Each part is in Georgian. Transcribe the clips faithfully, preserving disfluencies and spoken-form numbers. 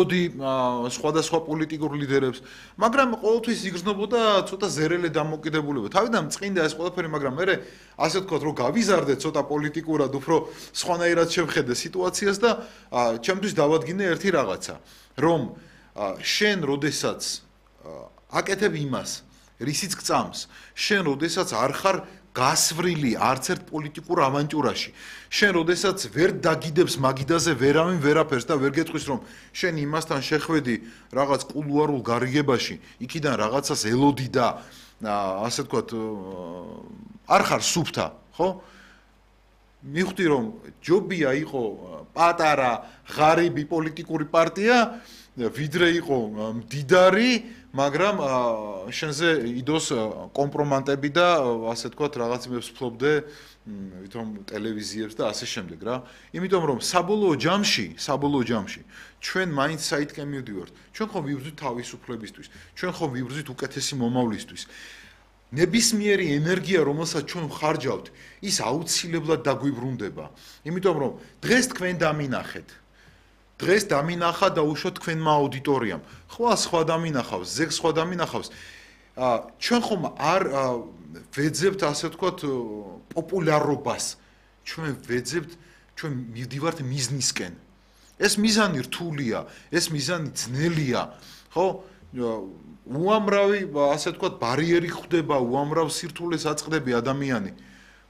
სხვადასხვა პოლიტიკურ ლიდერებს, მაგრამ ყოველთვის იგრძნობოდა ცოტა ზერელე დამოკიდებულება. თავიდან წინდა ეს ყველაფერი, მაგრამ მე ასე ვთქვათ, რომ გავიზარდე ცოტა პოლიტიკურად, უფრო სხვანაირად შევხედე სიტუაციას და ჩემთვის დავადგინე ერთი რაღაცა, რომ შენ როდესაც აკეთებ იმას, რისიც გწამს, შენ როდესაც არ ხარ გასვრილი არც ერთ პოლიტიკურ ავანტიურაში. შენ როდესაც ვერ დაგიდებს მაგიდაზე ვერავინ ვერაფერს და ვერ გეტყვის რომ შენ იმასთან შეხვედი რაღაც კულუარულ გარიგებაში, იქიდან რაღაცას ელოდი და ასე ვთქვათ არ ხარ სუფთა, ხო? მივხვდი რომ ჯობია იყო პატარა ღარიბი პოლიტიკური პარტია, ვიდრე იყო მდიდარი, მაგრამ შენზე იდოს კომპრომატები და ასე ვთქვათ რაღაცებს ფლობდე ვითომ ტელევიზიებს და ასე შემდეგ რა. იმიტომ რომ საბოლოო ჯამში, საბოლოო ჯამში ჩვენ მაინც საითკენ მივდივართ. ჩვენ ხომ ვიბრძვით თავისუფლებისთვის, ჩვენ ხომ ვიბრძვით უკეთესი მომავლისთვის. ნებისმიერი ენერგია, რომელსაც ჩვენ ვხარჯავთ, ის აუცილებლად დაგვიბრუნდება. იმიტომ რომ დღეს თქვენ დამინახეთ დღეს დამინახა და უშოთ თქვენმა აუდიტორიამ. ხვალ სხვა დამინახავს, ზეგ სხვა დამინახავს. ჩვენ ხომ არ ვეძებთ ასე ვთქვათ პოპულარობას. ჩვენ ვეძებთ, ჩვენ მივდივართ მიზნისკენ. ეს მიზანი რთულია, ეს მიზანი ძნელია, ხო? უამრავი ასე ვთქვათ ბარიერი ხდება, უამრავ სირთულეს აწყდები ადამიანი.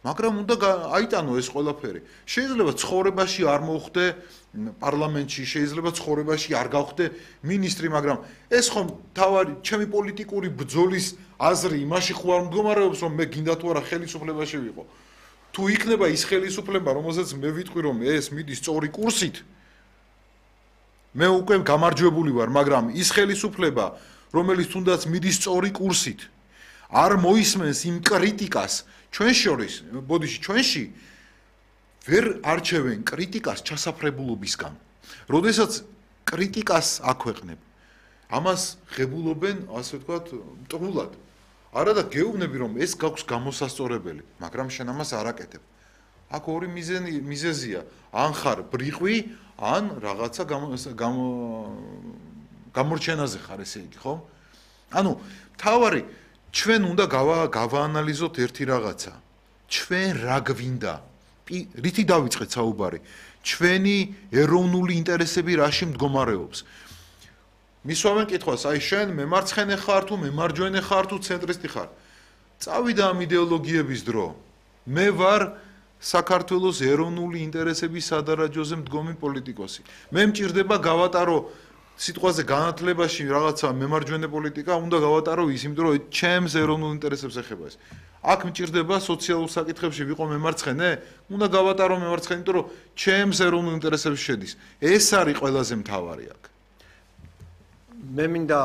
მაგრამ უნდა აიტანო ეს ყველაფერი. შეიძლება ცხოვრებაში არ მოხდე პარლამენტში, შეიძლება ცხოვრებაში არ გავხდე მინისტრი, მაგრამ ეს ხომ თავარი ჩემი პოლიტიკური ბრძოლის აზრი იმაში ხო არ მდგომარეობს, რომ მე გინდა თუ არა ხელისუფლებაში ვიყო. თუ იქნება ის ხელისუფლება, რომელზეც მე ვიტყვი, რომ ეს მიდის სწორი კურსით, მე უკვე გამარჯვებული ვარ, მაგრამ ის ხელისუფლება, რომელიც თუნდაც მიდის სწორი კურსით, არ მოისმენს იმ კრიტიკას ჩვენ შორის, ბოდიში ჩვენში ვერ არჩევენ კრიტიკას ჩასაფრებულობისგან. როდესაც კრიტიკას აქვეყნებ, ამას ღებულობენ, ასე ვთქვათ, მტყულად. არა და გეუბნები რომ ეს გაქვს გამოსასწორებელი, მაგრამ შენ ამას არ აკეთებ. აქ ორი მიზეზი მიზეზია, ან ხარ ბრიყვი, ან რაღაცა გამორჩენაზე ხარ, ესე იგი, ხო? ანუ თავარი ჩვენ უნდა გავაანალიზოთ ერთი რაღაცა. ჩვენ რა გვინდა? რითი დავიწყეთ საუბარი? ჩვენი ეროვნული ინტერესები რაში მდგომარეობს? მისვამენ კითხვას, აი შენ მემარცხენე ხარ თუ მემარჯვენე ხარ თუ ცენტრისტი ხარ? წავიდა ამ იდეოლოგიების დრო. მე ვარ საქართველოს ეროვნული ინტერესების სადარაჯოზე მდგომი პოლიტიკოსი. მე მჭირდება გავატარო სიტყვაზე განათლებაში რაღაცა მემარჯვენე პოლიტიკა, უნდა გავატარო ის, იმიტომ რომ ჩემს ეროვნულ ინტერესებს ეხება ეს. აქ მჭირდება სოციალურ საკითხებში ვიყო მემარცხენე, უნდა გავატარო მემარცხენე, იმიტომ რომ ჩემს ეროვნულ ინტერესებში შედის. ეს არის ყველაზე მთავარი აქ. მე მინდა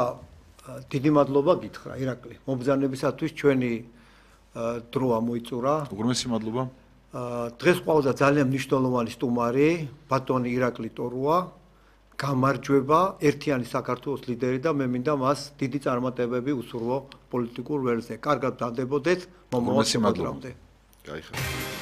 დიდი მადლობა გითხრა ირაკლი. მობრძანებისათვის ჩვენი დრო ამოიწურა. უღრმესი მადლობა. დღეს ყავდა ძალიან მნიშვნელოვანი სტუმარი, ბატონი ირაკლი ტორუა. გამარჯვება ერთიანი საქართველოს ლიდერი და მე მინდა მას დიდი წარმატებები უსურვო პოლიტიკურ ველზე. კარგად დავდებოდეთ, მომავალ შემოდგომამდე. კაი ხარ.